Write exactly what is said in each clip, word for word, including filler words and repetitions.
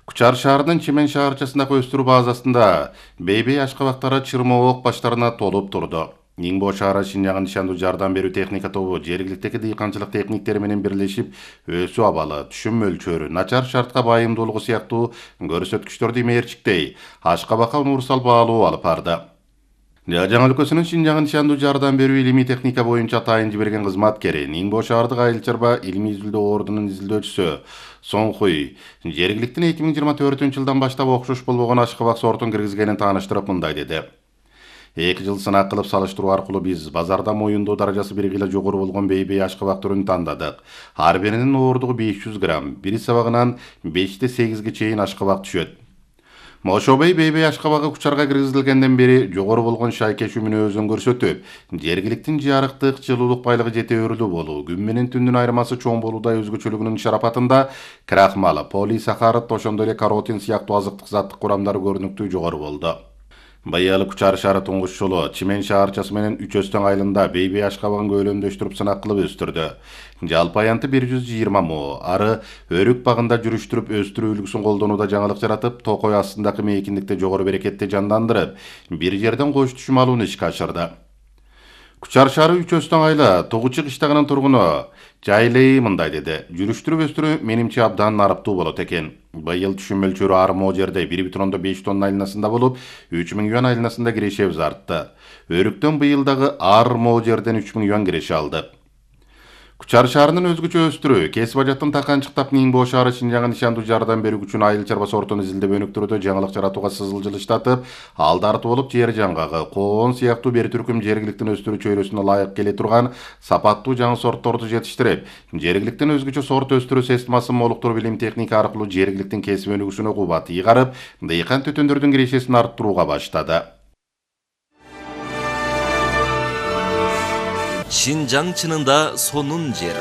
Кучар шаарынын Чимен шаарчасындагы өстүрүү базасында бейбей ашкабактары чырмоок баштарына толуп турду. Нingbo шаары Шинжаңга нишандуу жардам берүү техника тобу жергиликтеги дыйканчылык техниктери менен бирлешип, өсүү абалы, түшүм мөлчөрү, начар шартка байымдуулугу сыяктуу көрсөткүчтөрдү мээрчиктей ашкабакка универсал баалуу алып барды. Жаңа өлкөсүнүн Шинжаңга нишандуу жардам берүү илимий техника боюнча тайын жиберген кызматкери, Нingbo шаардык айыл чарба илимий изилдөө ордунун изилдөөчүсү Сон Хуй жергиликтин эки миң жыйырма төртүнчү жылдан баштап окшош болбогон ашкабак сортун киргизгенин тааныштырып мындай деди. Эки жыл сынак кылып салыштыруу аркылуу биз базарда моюндоо даражасы бир гыйла жогору болгон бейбей ашкабак түрүн тандадык. Ар биринин ооругу беш жүз грамм, бири сабагынан беште сегизге чейин ашкабак түшөт. Мошобей бейбей ашкабагы Кучарга киргизилгенден бери жогору болгон шайкеш мүнөзүн көрсөтүп, жергиликтин жарыктык, жылуулук байлыгы жетеөрүлүү болуу, күн менен түндүн айырмасы чоң болуудай өзгөчөлүгүнүн шарапатында крахмал, полисахарид, ошондой эле каротин сыяктуу азыктык заттык курамдары көрүнүктүү жогору болду. Быйыл Кучар шаары туңгуч жолу Чимен шаарчасы менен Үч Өстөң айылында бейбей ашкабагын көөлөмдөштүрүп сынак кылып өстүрдү. Жалпы аянты бир жүз жыйырма мо, ары өрүк багында жүрүштүрүп өстүрүү үлгүсүн колдонууда жаңылык жаратып, токой астындагы мейкиндикти жогору берекетти жандандырып, бир жерден кош түшүм алууну ишке ашырды. Кучар шаары Үч Өстөң айылы Тугучу кыштагынын тургуну Жайлей мындай деди. Жүрүштүрүп өстүрүү менимче абдан нарыптуу болот экен. Быйыл түшүм мөлчөрү ар мо жерде бир бүтүн ондон беш тонна айланасында болуп, үч миң юан айланасында кирешебиз артты. Өрүктөн быйыл дагы ар мо жерден үч миң юан киреше алдык. Кучар шаарынын өзгөчө өстүрүү кесип ажаттын таканчыктап Ningbo шаары Шинжаңга нишандуу жардам берүү үчүн айыл чарба сортун изилдеп өнүктүрүүдө жаңылык жаратууга сызылжылыштатып, алды арты болуп жер жаңгагы, коон сыяктуу бир түркүм жергиликтин өстүрүү чөйрөсүнө ылайык келе турган сапаттуу жаңы сортторду жетиштирип, жергиликтин өзгөчө сорт өстүрүү системасын молуктуруп илим техника аркылуу жергиликтин кесип өнүгүүсүнө кубат ыйгарып, дыйкан төтөндөрдүн кирешесин арттырууга баштады. Шинжаң чынында сонун жери.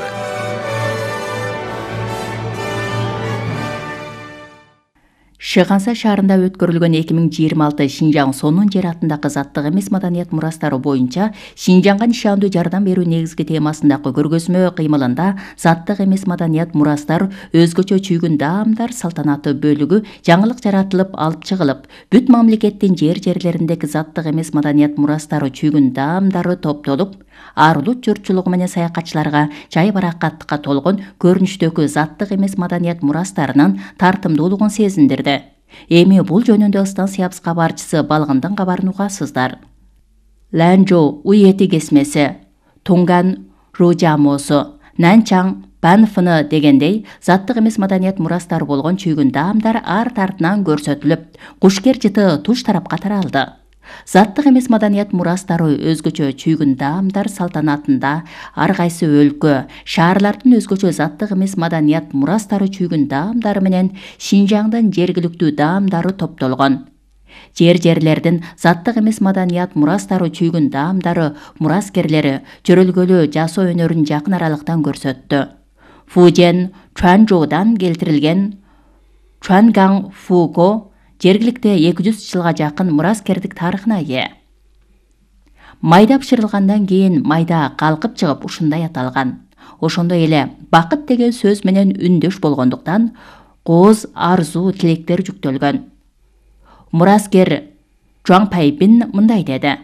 Шыганса шаарында өткөрүлгөн эки миң жыйырма алты Шинжаң сонун жер атындагы заттык эмес маданият мурастары боюнча Шинжаңга нишандуу жардам берүү негизги темасындагы көргөзмө кыймылында заттык эмес маданият мурастар, өзгөчө чүйгүн даамдар салтанаттуу бөлүгү жаңылык жаратылып алып чыгылып, бүт мамлекеттин жер жерлериндеги заттык эмес маданият мурастары, чүйгүн даамдары топтолуп, арлут журтчулугу менен саякатчыларга жай баракаттыкка толгон көрүнүштөгү заттык эмес маданият мурастарынын тартымдуулугун сезиндирди. Эми бул жөнүндө станциябыз кабарчысы Балгындын кабарын угасыздар. Ланжоу уйети кесмеси, Тунган ружамосу, Нанчаң Банфыны дегендей заттык эмес маданият мурастары болгон чүйгүн даамдар ар тартынан көрсөтүлүп, кушкер жыты туш тарапка таралды. Заттык эмес маданият мурастары өзгөчө чүйгүн даамдар салтанатында ар кайсы өлкө, шаарлардын өзгөчө заттык эмес маданият мурастары чүйгүн даамдары менен Шинжаңдын жергиликтүү даамдары топтолгон. Жер-жерлердин заттык эмес маданият мурастары чүйгүн даамдары мураскерлери чөрөлгөлүү жасоо өнөрүн жакын аралыктан көрсөттү. Фужен, Чуанчжоудан келтирилген Чуангаң Фуго жергиликте эки жүз жылга жакын мураскердик тарыхына ээ. Майда бышырылгандан кийин майда калкып чыгып ушундай аталган. Ошондой эле бакыт деген сөз менен үндөш болгондуктан кооз арзуу тилектер жүктөлгөн. Мураскер Чуаңпайбин мындай деди.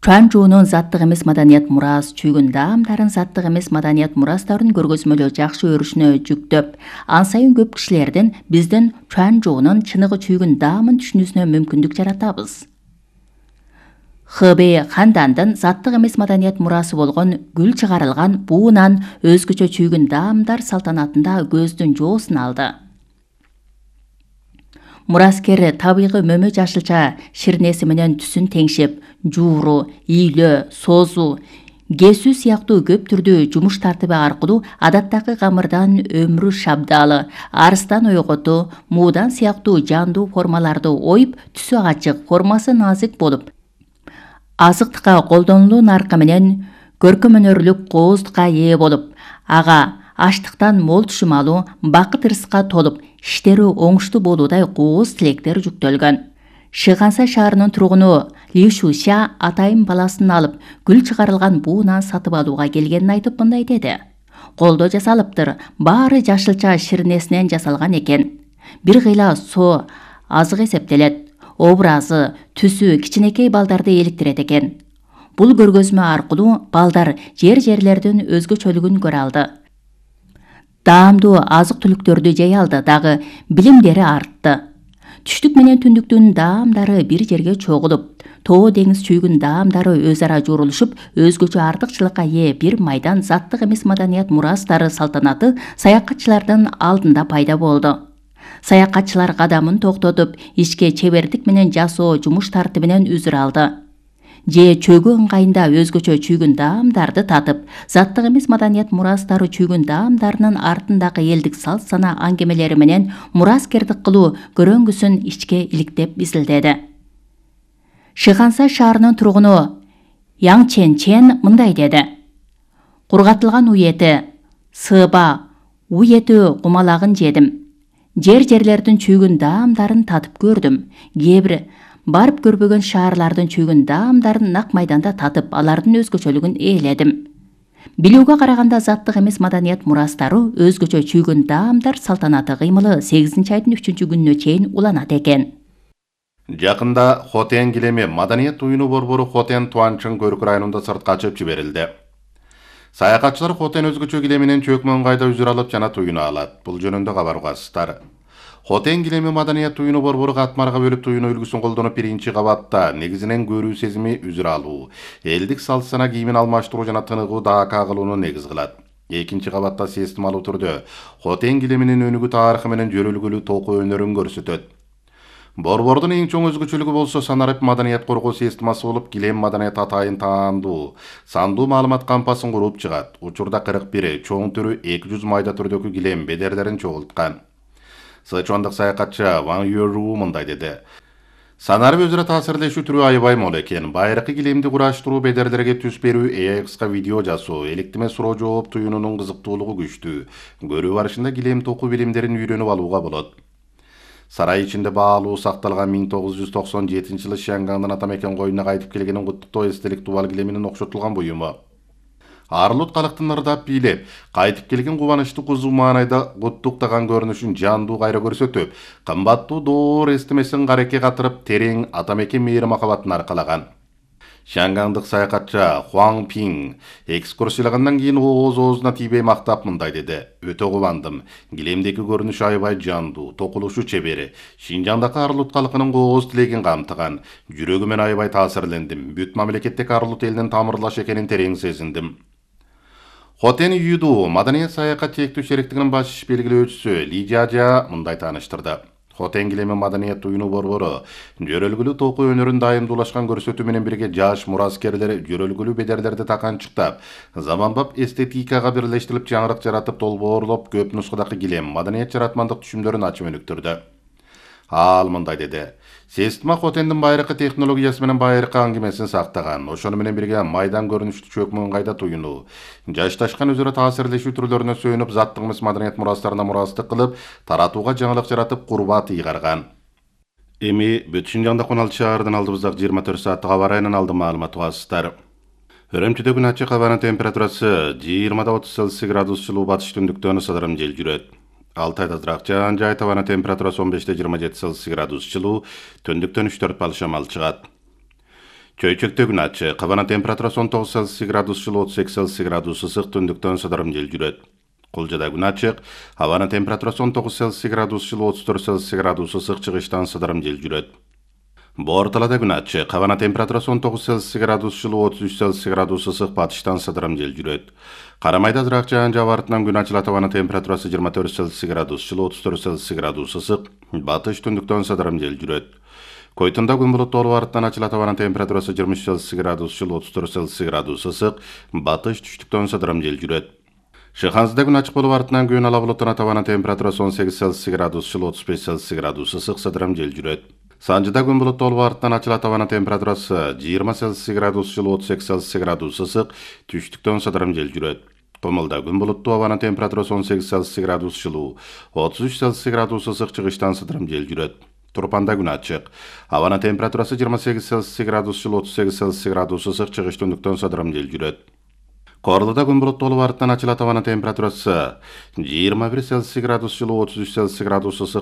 Чуанчжоунун заттык эмес маданият мурас, чүйгүн даамдарын заттык эмес маданият мурастарын көргөзмөлөө жакшы өрүшүнө жүктөп, ан сайын көп кишилердин биздин Чуанчжоунун чыныгы чүйгүн даамын түшүнүүсүнө мүмкүндүк жаратабыз. Хэбэй хандандын заттык эмес маданият мурасы болгон гүл чыгарылган буунан өзгөчө чүйгүн даамдар салтанатында көздүн жоосун алды. Мураскер табигый мөмө жашылча ширнеси менен түсүн теңшеп, жууру, ийлөө, созу, кесүү сыяктуу көп түрдүү жумуш тартиби аркылуу адаттагы камырдан өмүрү шабдалы, арыстан ойготу, муудан сыяктуу жандуу формаларды оюп, түсү ачык, формасы назик болуп, азыктыкка колдонулуу наркы менен көркөм өнөрлүк кооздукка ээ болуп, ага аштыктан мол түшүм алуу, бакыт ырыска толуп, иштери оңуштуу болуудай кооз тилектер жүктөлгөн. Шыганса шаарынын тургуну Ли Шуша атайын баласын алып, гүл чыгарылган буунан сатып алууга келгенин айтып мындай деди. Колдо жасалыптыр, баары жашылча ширнесинен жасалган экен. бир кыйла соо азык эсептелет. Образы, түсү кичинекей балдарды иликтирет экен. Бул көргөзмө аркылуу балдар жер-жерлердин өзгөчөлүгүн көрө алды. Даамдуу азык-түлүктөрдү жей алды, дагы билимдери артты. Түштүк менен түндүктүн даамдары бир жерге чогулуп, тоо деңиз чүйгүн даамдары өз ара журулушуп, өзгөчө артыкчылыкка ээ бир майдан заттык эмес маданият мурастары салтанаты саякатчылардын алдында пайда болду. Саякатчылар кадамын токтотуп, ишке чебердик менен жасоо жумуш тартибинен үзүр алды. Же чөгү ыңгайында өзгөчө чүйгүн даамдарды татып, заттык эмес маданият мурастары чүйгүн даамдарынын артындагы элдик салт сана аңгемелери менен мураскердик кылуу көрөңгүсүн ичке иликтеп изилдеди. Шыганса шаарынын тургуну Яң Чен Чен мындай деди. Кургатылган уй эти, сыба, уй эти кумалагын жедим. Жер-жерлердин чүйгүн даамдарын татып көрдүм. Кээ бир барып көрбөгөн шаарлардын чүйгүн даамдарын нак майданда татып, алардын өзгөчөлүгүн ээледим. Билүүгө караганда заттык эмес маданият мурастары өзгөчө чүйгүн даамдар салтанаты кыймылы сегизинчи айдын үчүнчү күнүнө чейин уланат экен. Жакында Хотен килеми маданият уюну борбору Хотен Туанчын Көркү районунда сыртка чыгып жиберилди. Саякатчылар Хотен өзгөчө килеминен чөкмө ыңгайда үзүр алып жана туюну алат. Бул жөнүндө кабар угасыздар. Хотен килеми маданият уюну борбору катмарга бөлүп туюну үлгүсүн колдонуп биринчи кабатта негизинен көрүү сезими үзүр алуу, элдик салт сана кийимин алмаштыруу жана тыныгуу даакка кылууну негиз кылат. Экинчи кабатта системалуу түрдө Хотен килеминин өнүгүү тарыхы менен жөрөлгүлүү токуу өнөрүн көрсөтөт. Борбордун эң чоң өзгөчөлүгү болсо санарип маданият коргоо системасы болуп, килем маданият атайын таандуу, сандуу маалымат кампасын куруп чыгат. Учурда кырк бир чоң түрү эки жүз майда түрдөгү килем бедерлерин чогулткан. Сычуандык саякатчы Ван Юру мындай деди. Санарип өзүрө таасирлешүү түрү аябай мол экен. Байыркы килемди кураштыруу, бедерлерге түс берүү, экска видео жасоо, электиме суроо жооп туюнунун кызыктуулугу күчтүү. Көрүү барышында килем токуу билимдерин үйрөнүп алууга болот. Сарай ичинде баалуу сакталган миң тогуз жүз токсон жетинчи жылы Шиангандын атамекен коюнуна кайтып келгенин куттуктоо эстелик тубал килеминин окшотулган буюму. Арлут калктын ырдап бийлеп, кайтып келген кубанычты кузу маанайда куттуктаган көрүнүшүн жандуу кайра көрсөтүп, кымбаттуу доор эстемесин карекке катырып, терең атамекен мээри махабатын аркалаган. Шиангандык саякатчы Хуаң Пиң экскурсиялагандан кийин ооз-оозуна тийбей мактап мындай деди. Өтө кубандым. Килемдеки көрүнүш аябай жандуу, токулушу чебери. Шинжаңдагы арлут калкынын кооз тилегин камтыган. Жүрөгүмөн аябай таасирлендим. Бүт мамлекеттеги арлут элинин тамырлаш экенин терең сезиндим. Хотен Юду маданият саякат чектүү шериктигинин баш белгилөөчүсү Ли Жажа мындай тааныштырды. Хотен килеми маданият уюну борбору жөрөлгүлүү токуу өнөрүн дайымдуулашкан көрсөтүү менен бирге жаш мураскерлер жөрөлгүлүү бедерлерди таканчыктап, заманбап эстетикага бирлештирип жаңырык жаратып, долбоорлоп көп нускадагы килем маданият жаратмандык түшүмдөрүн ачып өнүктүрдү. Ал мындай деди. Система Хотендин байыркы технологиясы менен байыркы аңгемесин сактаган, ошону менен бирге майдан көрүнүштү чөкмө ыңгайда туюну, жашташкан өзүрө таасирлешүү түрлөрүнө сүйүнүп, заттык эмес маданият мурастарына мурастык кылып, таратууга жаңылык жаратып, курбат ыйгарган. Эми бүт Шинжаңда он алты шаардан алдыбыздагы жыйырма төрт сааттык аба ырайынан алды маалымат угасыздар. Өрөмчүдө күн ачык, абанын температурасы жыйырмада отуз Цельсий градус жылуу, батыш түндүктөн ысыдырым жел жүрөт. Алтайда ызыраак жаан жайыт, абанын температурасы он беште жыйырма жети Цельсий градус жылуу, түндүктөн үч төрт балл шамал чыгат. Чөйчөктө күн ачык, абанын температурасы он тогуз Цельсий градус жылуу, отуз эки Цельсий градус ысык, түндүктөн ысыдырым жел жүрөт. Кулжада күн ачык, абанын температурасы он тогуз Цельсий градус жылуу, отуз төрт Цельсий градус ысык, чыгыштан ысыдырым жел жүрөт. Борталада күн ачык, абанын температурасы он тогуз Цельсий градус жылуу, отуз үч Цельсий градус ысык, батыштан ысыдырым жел жүрөт. Карамайда ызыраак жаан жаап артынан күн ачылат, абанын температурасы жыйырма төрт Цельсий градус жылуу, отуз төрт Цельсий градус ысык, батыш түндүктөн ысыдырым жел жүрөт. Койтунда күн булуттуу болуп артынан ачылат, абанын температурасы жыйырма үч Цельсий градус жылуу, отуз төрт Цельсий градус ысык, батыш түштүктөн ысыдырым жел жүрөт. Шыхансызда күн ачык болуп артынан күн ала булуттанат, абанын температурасы он сегиз Цельсий градус жылуу, отуз беш Цельсий градус ысык, ысыдырым жел жүрөт. Санжыда күн булуттуу болуп артынан ачылат, абанын температурасы жыйырма Цельсий градус жылуу, отуз эки Цельсий градус ысык, түштүктөн ысыдырым жел жүрөт. Томолда күн булуттуу, абанын температурасы он сегиз Цельсий градус жылуу, отуз үч Цельсий градус ысык, чыгыштан ысыдырым жел жүрөт. Турпанда күн ачык, абанын температурасы жыйырма сегиз Цельсий градус жылуу, отуз сегиз Цельсий градус ысык, чыгыш түндүктөн ысыдырым жел жүрөт. Корлуда күн булуттуу болуп артынан ачылат, абанын температурасы жыйырма бир Цельсий градус жылуу, отуз үч Цельсий градус ысык,